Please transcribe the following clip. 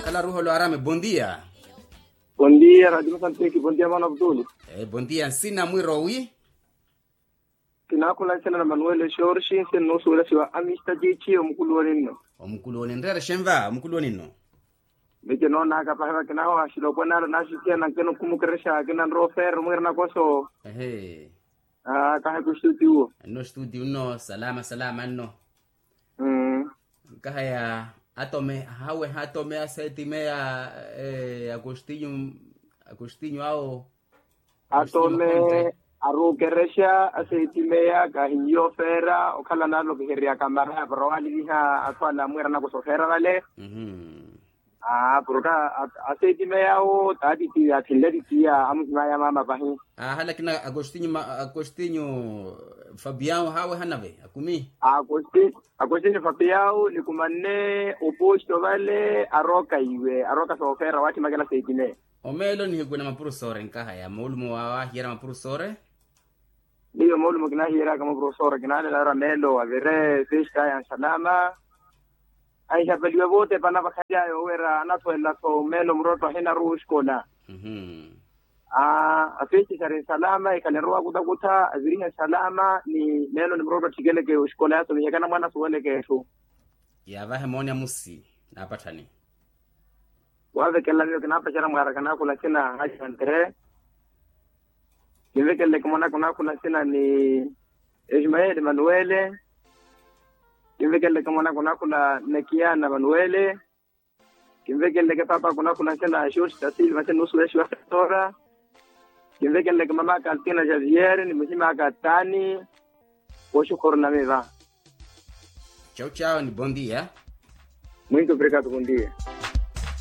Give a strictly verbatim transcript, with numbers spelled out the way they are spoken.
Ala ruholo arame bondia. Bondia radio masantiki bondia mano abduli. Bondia nsina mwiro wi? Kinakhula nsina na manuel shorshi nsi nnusuwela siwa amista chichi omukulu woninno. Omukulu woninno rere shenva omukulu woninno. Miti noonaka pahiva kinaho ashilopwe nalo nasikiya nankeno kumukeresha kinanrowa ofera omwira nakoso. Ehe. Kaha kustuti uwo. Nno stuti unno salama salama nno. Nkahaya atome hawe hatome asetimeya agostinyo agostinyo awo. Atome arukeresha asetimeya kahinyo ofera okhala nalokeherya kamara para waliviha athu ala amwira nakoso ofera vale. Aa porka asetimeya awo taatitiya athinle titiya amuhimaya mama pahi. Aa halakina agostinyo agostinyo fabiao hawe hanave akumi. Agostinyo fabiao nikumanne oposto vale aroka iwe aroka soofera wathimakela asetimeya. Omeelo nihikwina mapurusore nkahaya moolumo wawahiyera mapurusore. Miyo moolumo kinahiyeryaka mapurusore kinaalela ora meelo avire festa ya nsalama. Ahihapaliwe vootepana vakhalyayo wira anathuwelela-tho meelo murotto ahinaruwa oxikola. Afeexixari nsalama ekhale arowa akutakutha avirihe nsalama ni meelo ni murotto athikeleke oxikola yaasomihekana mwaana asuweleke etthu. Yaavahe mooni amusi naapatthani. Waavekela miyo kinaapacera mwaaraka naakhula nsina hajantre. Kinvekeleleke mwanaka onaakhula nsina ni ismael emanuele. Kinvekeleleke mwanaka onaakhula nekiana emanuele. Kinvekeleleke paapaka onaakhula nsina na shorsi tasilva nsina nusu ya shiwa setora. Kinvekeleleke mamaka altina xavier ni muhimaka tani. Woxukhorona miva. Chau chau ni bondia. Muito obrigado bondia.